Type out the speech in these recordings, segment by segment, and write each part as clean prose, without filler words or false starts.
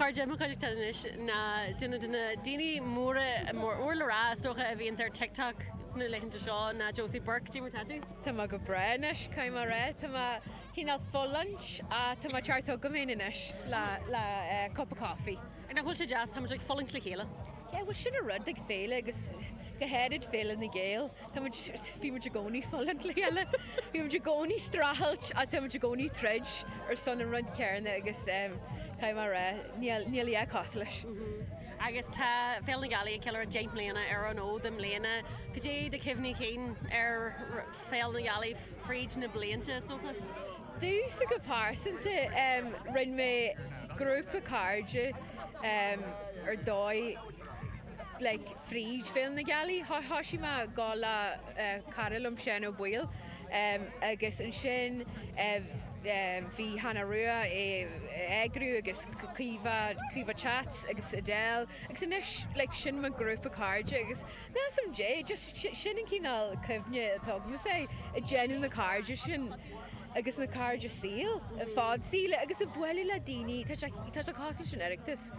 chairde, i mo chuideachta anois ná duine de na daoine móra, mór le rá is dócha, a bhíonns ar TikTok sna laethanta seo ná Josie Burke. Cad é mar tá tú? Tá mé go breá anois, caithfidh mé a rá. Tá mé cineál fulaingt ach tá mé ag teacht chugam féin anois le le cupa coffee. Nach bhfuil sé deas? Tá muid ag fulaingt le chéile. Yeah, bhuel sin an rud ag féile agus go háirid Féile na nGael. Tá muid, bhí muid i gcónaí fulaingt le chéile, bhí muid i gcónaí streachailt ach tá muid i gcónaí troid ar son an rud céanna agus caithfidh mé a rá, níl, níl a dhath cosúil leis. Agus tá Féile na Gealaí ag ceiliúradh 10 mbliana ar an fhód i mbliana. Cad é do chuimhní cinn ar Féile na Gealaí fríd na blianta, is dócha? Domhsa go pearsanta, rinne mé grúpa cairde ar dóigh, like fríd Féile na Gealaí. Thoisigh mé ag gabháil le cara liom Seán Ó Baoill agus ansin bhí Hannah Rua ag eagrú agus Caoimhe, Caoimhe Chats agus Adele agus anois like sin mo ghrúpa cairde agus measaim Dé just sin an cineál cuimhne atá agamsa ag déanamh na cairde sin agus na cairde saoil, fad saoil agus ag bualadh le daoine tá sé tá sé cosúil leis an Oireachtas.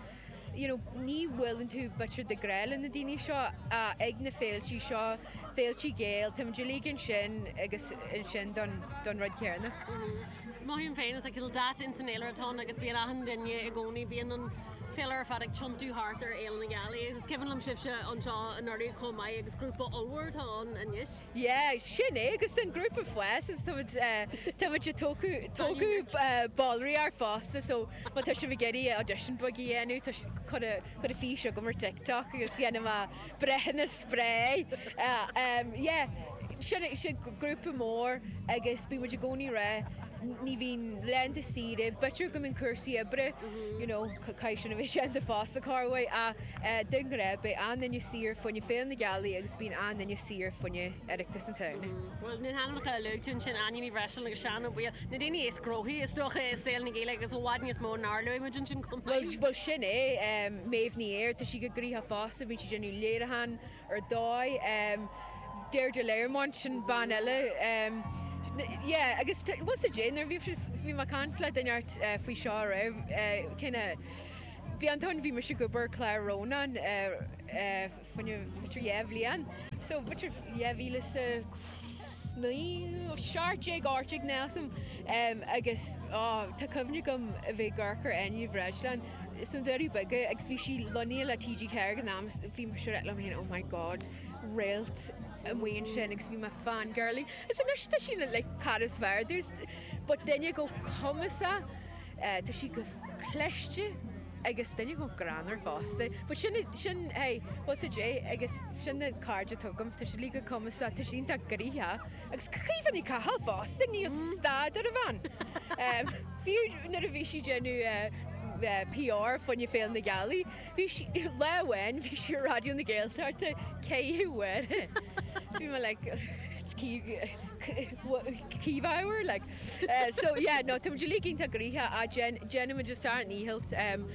you know, ní bhuaileann tú b'fhéidir de ghnáth le na daoine seo ag na féiltí seo, féiltí Gael, táimid uilig ansin agus ansin don, don rud céanna. Mothaím féin, is like little dot ins an fhéilire atá ann agus bíonn achan duine i gcónaí, bíonn an féilire ar fad ag tiontú thart ar Fhéile na Gealaí agus is cuimhin liom sibhse anseo anuraidh chomh maith agus grúpa ollmhór atá ann anois. Yeah, sin é, agus tá an grúpa ag fás agus tá muid, tá muid ag tógadh, tógadh ballraíocht fosta so má tá sibh ag iarraidh audition beag a dhéanamh, tá, cuir, cuir fís chugam ar TikTok agus dhéanfaidh mé breithiúnas breá. Yeah, sin é, sin grúpa mór agus bíonn muid i gcónaí ag rá, ní bhíonn laethanta saoire, b'fhéidir go mbíonn cúrsaí oibre, you know, caithfidh sin a bheith déanta fosta corruair ach de ghnáth beidh an-duine saor fá choinne Féile na Gealaí agus bíonn an-duine saor fá choinne Oireachtas an tSamhraidh. Bhuel, na hainmneacha a luaigh tú ansin, Áine Ní Bhreisleáin agus Seán Ó Baoill, na daoine is gnóthaí, is dócha, i saol na Gaeilge agus i bhfad níos mó nár luaigh muid ansin chomh maith. Bhuel, sin é. Méabh Ní Ír, tá sí go gnoitheach fosta, bíonn sí ag déanamh léiriúchán ar dóigh. Deirdre Learmont, sin bean eile. Yeah, agus bhfuil 's a'd, nuair a bhí, bhí mé ag caint le duine inteacht faoi seo aréir, kinda, bhí an t-am bhí mise ag obair ar chlár Rónán, fá choinne b'fhéidir 2 bhliain. So b'fhéidir 2009, 17, 18 níl 'fhios a'm agus oh tá cuimhne agam a bheith ag amharc ar Áine Ní Bhreisleáin sna Doirí Beaga agus bhí sí lonnaithe le TG4 ag an am agus bhí mise ag rá liom féin oh my god réalt amuigh ansin agus bhí mé fangirling agus anois tá sí like cara is fearr domh but duine chomh cumasach tá sí go cliste agus duine chomh greannmhar fosta. But sin, sin, hey, bhfuil 's a'd, agus sin na cairde atá agam, tá siad uilig go cumasach, tá siad iontach gnoitheach, agus Caoimhe Ní Chathail fosta, níl stad ar an bhean. Fiú nuair a bhí sí ag déanamh PR fá choinne Féile na Gealaí, bhí sí, lá amháin bhí sí ar Raidió na Gaeltachta ceithre huaire. So bhí mé like, it's Caoimhe hour, like. So yeah, no, tá muid uilig iontach gnoitheach ach déanaimid ár ndícheall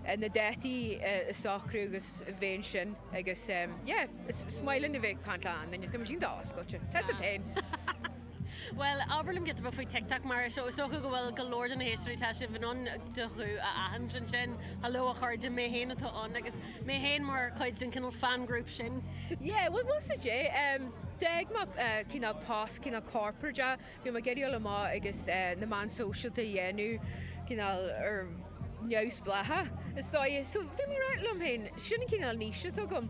na dátaí a socrú agus bheith ansin agus yeah, is maith linn a bheith ag caint le achan duine, tá muid iontach oscailte. Tá 's a'd féin. Bhuel, abair liom giota beag faoi TikTok mar is dócha go bhfuil go leor de na héisteoirí, tá sibh in ann do ghuth a aithint ansin. Hello a chairde, mé féin atá ann agus mé féin mar chuid den cineál fan group sin. Yeah, bhuel, bhfuil 's a'd, d'fhág mé cineál post cineál corporate Bhí mé ag iarraidh dul amach agus na meáin sóisialta a dhéanamh cineál ar neamhspleácha is dóigh. So bhí mé ag rá liom féin, sin an cineál niche atá agam.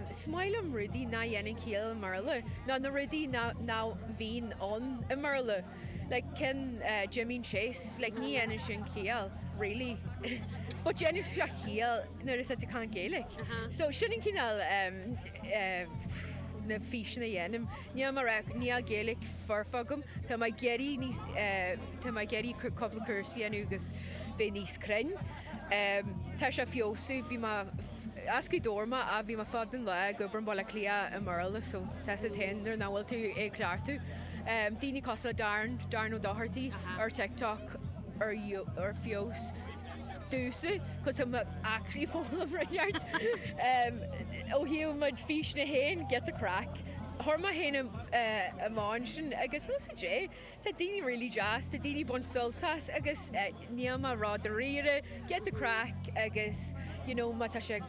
Is maith liom rudaí nach dhéanann ciall i mBéarla, nó na rudaí nach bhíonn ann i mBéarla. Like ceann Jimín Chase, like ní dhéanann sin ciall, really. But déanann sé ciall nuair atá tú ag caint Gaeilge. So sin an cineál na físeanna a dhéanaim. Níl mé ag rá, níl Gaeilge foirfe agam. Tá mé ag iarraidh níos, tá mé ag iarraidh cúpla cúrsa a dhéanamh agus bheith níos cruinn. Tá sé ag feabhsú, bhí mé, as Gaoth Dobhair mé ach bhí mé fad an lá ag obair i mBaile Átha Cliath i mBéarla so tá 's a'd féin nuair nach bhfuil tú ag cleachtadh. Daoine cosúil le Darren, Darren Ó Dochartaigh ar TikTok ar ar feabhas domhsa cos tá mé actually foghlaim rud inteacht. Ó thaobh mo físeanna féin, giota craic. Chuir mé féin amach ansin agus bhfuil 's a'd, tá daoine really deas, tá daoine ag baint sult as agus níl mé ró-dáiríre, get the craic agus you know má tá sé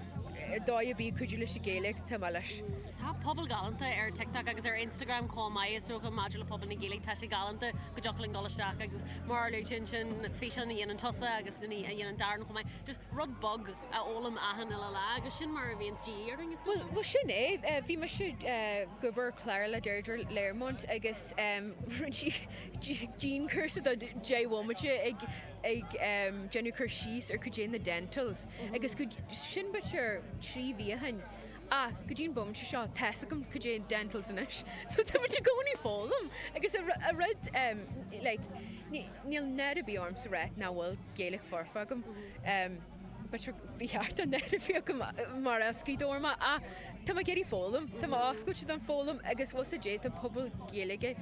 dóigh ar bith ag cuidiú leis an Ghaeilge, tá mé leis. Tá pobal galánta ar TikTok agus ar Instagram chomh maith, is dócha, maidir le pobal na Gaeilge, tá sé galánta go dtiocfadh linn dul isteach agus mar a luaigh tú ansin, físeán a dhéanann tusa agus a dhéanann Darren chomh maith, just rud beag a fhoghlaim achan uile lá agus sin mar a bhíonns de dhíth orainn, is dócha. Bhuel, sin é. Bhí mise ag obair ar chlár le Deirdre Learmont agus rinne sí dianchúrsa de 10 bhomaite ag ag déanamh cur síos ar cad é na dentals agus go sin b'fhéidir 3 mhí ó shin ach go dtí an bomaite seo tá's agam cad é dentals anois so tá muid i gcónaí ag foghlaim agus a rud like níl náire ar bith ormsa a rá nach bhfuil Gaeilge foirfe agam b'fhéidir ba cheart an náire a bheith agam mar as Gaoth Dobhair mé ach tá mé ag iarraidh foghlaim tá mé oscailte don foghlaim agus bhfuil 's a'd tá pobal Gaeilge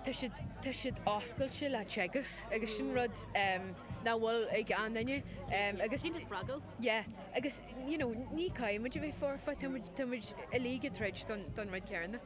Tá siad, tá siad oscailte le teagasc agus sin rud nach bhfuil ag achan duine agus. Sin spreagúil. Yeah agus you know ní caithfidh muid a bheith foirfe, tá muid, tá muid uilig ag troid don, don rud céanna.